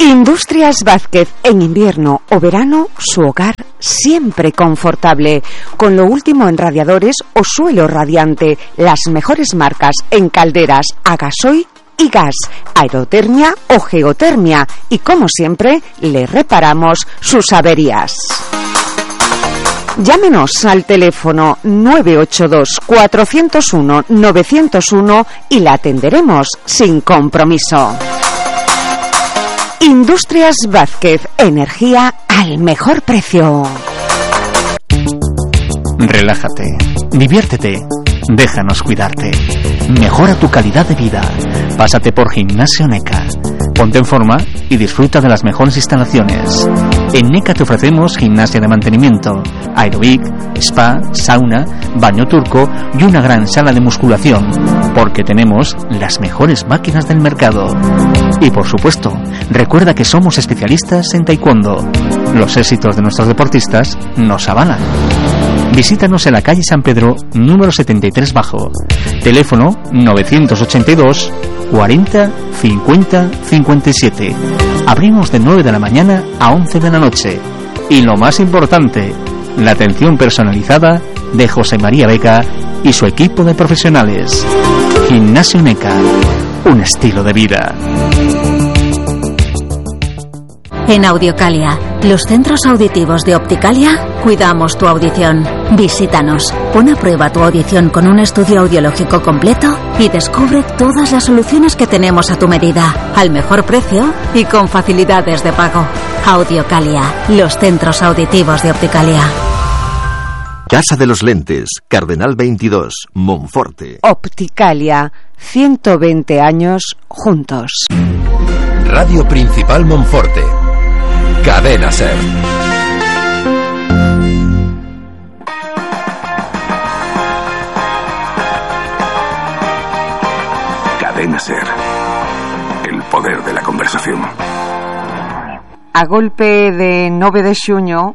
Industrias Vázquez, en invierno o verano, su hogar siempre confortable, con lo último en radiadores o suelo radiante, las mejores marcas en calderas a gasoil y gas, aerotermia o geotermia, y como siempre, le reparamos sus averías. Llámenos al teléfono 982-401-901 y la atenderemos sin compromiso. Industrias Vázquez, energía al mejor precio. Relájate, diviértete, déjanos cuidarte. Mejora tu calidad de vida. Pásate por Gimnasio NECA. Ponte en forma y disfruta de las mejores instalaciones. En NECA te ofrecemos gimnasia de mantenimiento, aeróbic, spa, sauna, baño turco y una gran sala de musculación, porque tenemos las mejores máquinas del mercado. Y por supuesto, recuerda que somos especialistas en taekwondo. Los éxitos de nuestros deportistas nos avalan. Visítanos en la calle San Pedro, número 73 bajo. Teléfono 982 40 50 57. Abrimos de 9 de la mañana a 11 de la noche. Y lo más importante, la atención personalizada de José María Beca y su equipo de profesionales. Gimnasio NECA, un estilo de vida. En Audiocalia, los centros auditivos de Opticalia, cuidamos tu audición. Visítanos, pon a prueba tu audición con un estudio audiológico completo y descubre todas las soluciones que tenemos a tu medida, al mejor precio y con facilidades de pago. Audiocalia, los centros auditivos de Opticalia. Casa de los Lentes, Cardenal 22, Monforte. Opticalia, 120 años juntos. Radio Principal Monforte. Cadena SER. Cadena SER. El poder de la conversación. A golpe de 9 de xuño,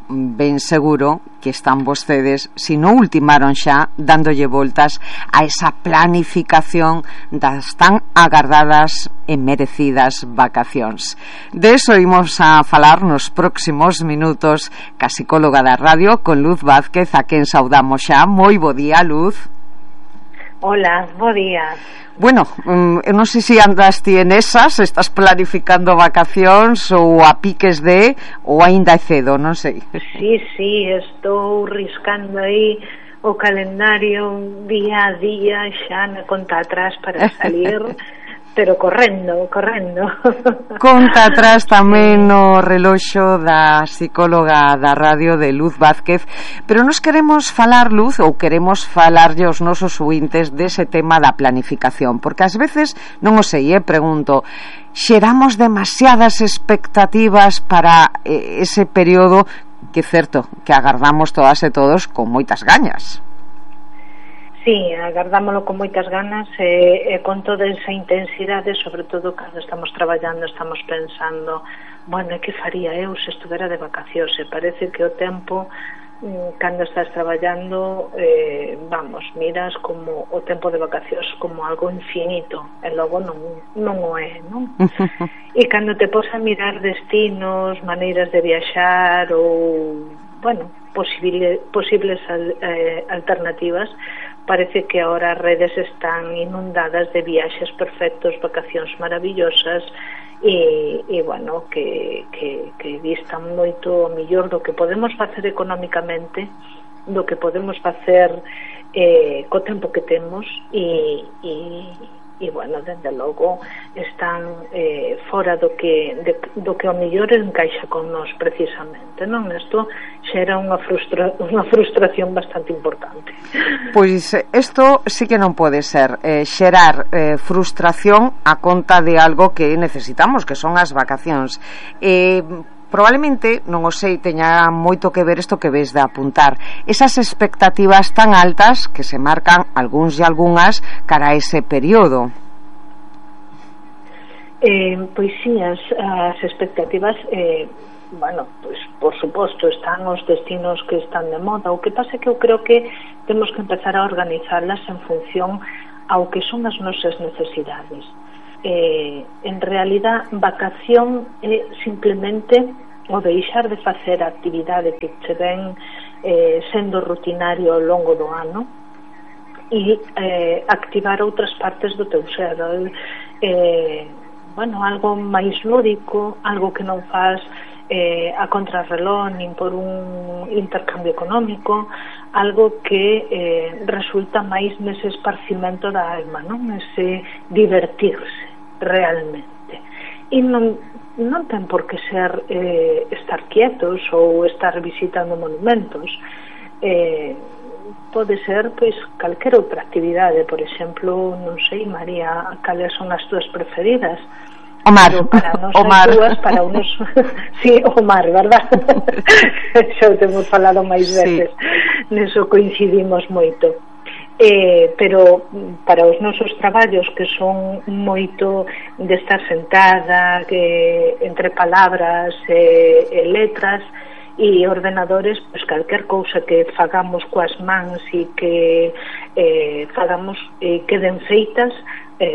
ben seguro que están vostedes, se non ultimaron xa, dándolle voltas a esa planificación das tan agardadas e merecidas vacacións. De eso imos a falar nos próximos minutos ca psicóloga da radio, con Luz Vázquez, a quen saudamos xa. Moi bo día, Luz. Hola, bo día. Bueno, eu non sei se andas ti en esas, estás planificando vacacións ou a piques de, ou aínda é cedo, non sei. Sí, estou riscando aí o calendario día a día, xa na conta atrás para salir, pero correndo. Conta atrás tamén no reloxo da psicóloga da radio, de Luz Vázquez, pero nos queremos falar, Luz, ou queremos falarlle aos nosos ouvintes dese tema da planificación, porque ás veces, non o sei, pregunto, xeramos demasiadas expectativas para ese período que é certo que agardamos todas e todos con moitas gañas. Sí, agardámoslo con moitas ganas e con toda esa intensidade, sobre todo cando estamos traballando, estamos pensando, bueno, que faría eu se estuvera de vacacións? E parece que o tempo, cando estás traballando, miras como o tempo de vacacións como algo infinito, e logo non o é, non? E cando te pos a mirar destinos, maneiras de viaxar ou, bueno, posibles alternativas, parece que ahora as redes están inundadas de viaxes perfectos, vacacións maravillosas e bueno, que distan moito mellor do que podemos facer económicamente, do que podemos facer co tempo que temos e bueno, dende logo están fora do que o mellor encaixa con nós precisamente, non? Isto xera unha frustración bastante importante. Pois isto sí que non pode ser, xerar frustración a conta de algo que necesitamos, que son as vacacións. Probablemente, non o sei, teña moito que ver isto que ves de apuntar, esas expectativas tan altas que se marcan algúns e algunhas cara a ese período. Pois sí, as expectativas, bueno, pois por suposto están os destinos que están de moda. O que pasa é que eu creo que temos que empezar a organizarlas en función ao que son as nosas necesidades. en realidad vacación é simplemente o deixar de facer a actividade que che ven sendo rutinario ao longo do ano e activar outras partes do teu ser, algo máis lúdico, algo que non faz a contrarreloj nin por un intercambio económico, algo que resulta máis nese esparcimento da alma, non? Ese divertirse realmente, e non ten por que ser estar quietos ou estar visitando monumentos. Pode ser pois calquera outra actividade. Por exemplo, non sei, María, cales son as túas preferidas? O mar. Para nos dúas, para unos sí, o mar, verdad? Xa o temos falado máis veces, neso coincidimos moito. Pero para os nosos traballos, que son moito de estar sentada, que entre palabras e letras e ordenadores, pois calquer cousa que fagamos coas mans e que fagamos queden feitas,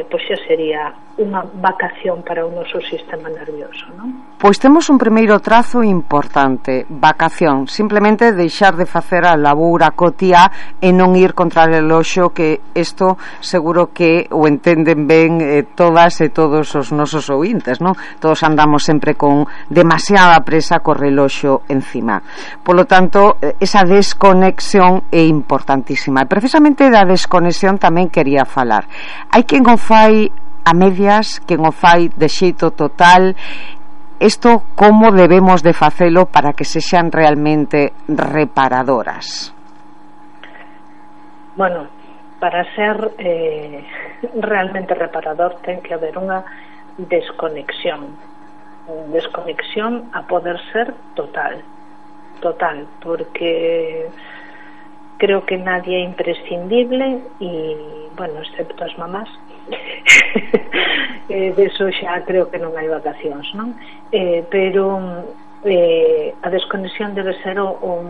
pois xa sería unha vacación para o noso sistema nervioso, non? Pois temos un primeiro trazo importante: vacación, simplemente deixar de facer a labura cotiá e non ir contra o reloxo, que isto seguro que o entenden ben todas e todos os nosos ouvintes, non? Todos andamos sempre con demasiada presa co reloxo encima. Polo tanto, esa desconexión é importantísima, e precisamente da desconexión tamén quería falar. Hai quen o fai a medias, quen o fai de xeito total. Isto como debemos de facelo para que sexan realmente reparadoras? Bueno, para ser realmente reparador ten que haber unha desconexión a poder ser total, porque creo que nadie é imprescindible, e, bueno, excepto as mamás, deso xa creo que non hai vacacións, non? Pero a desconexión debe ser o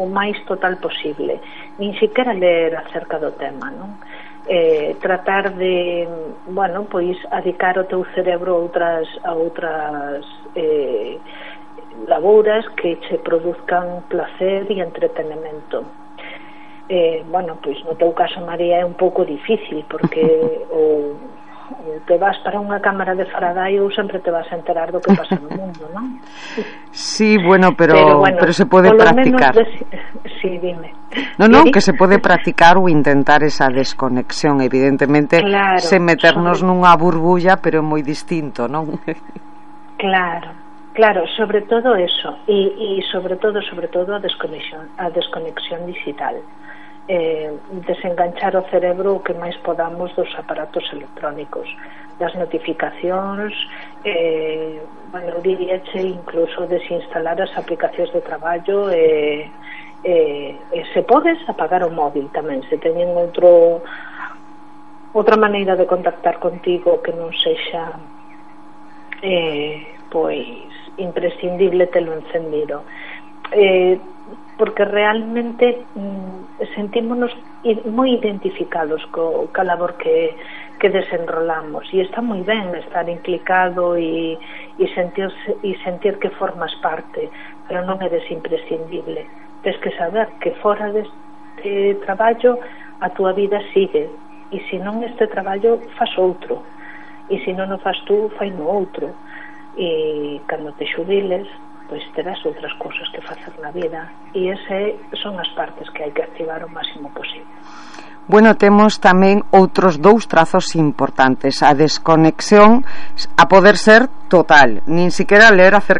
máis total posible. Nin siquiera ler acerca do tema, non? Tratar de, bueno, pois adicar o teu cerebro a outras labouras que che produzcan placer e entretenimento. Bueno, pois no teu caso, María, é un pouco difícil, porque ou te vas para unha cámara de Faraday ou sempre te vas a enterar do que pasa no mundo, non? Sí, bueno, pero se pode practicar. Sí, dime. Non, que se pode practicar ou intentar esa desconexión, evidentemente, claro, sen meternos nunha burbulla, pero é moi distinto, non? Claro, sobre todo eso, e sobre todo a desconexión digital. Desenganchar o cerebro o que máis podamos dos aparatos electrónicos, das notificacións, bueno, diríache incluso desinstalar as aplicacións de traballo, se podes apagar o móvil tamén, se teñen outra maneira de contactar contigo que non sexa pois imprescindible telo encendido, porque realmente sentímonos moi identificados ca labor que desenrolamos, e está moi ben estar implicado e sentir que formas parte, pero non eres imprescindible. Tens que saber que fora deste traballo a túa vida sigue, e se non este traballo faz outro, e se non o faz tú, fai no outro, e cando te xubiles pois terás outras cousas que facer na vida, e ese son as partes que hai que activar o máximo posible. Bueno, temos tamén outros dous trazos importantes: a desconexión a poder ser total, nin siquiera ler acerca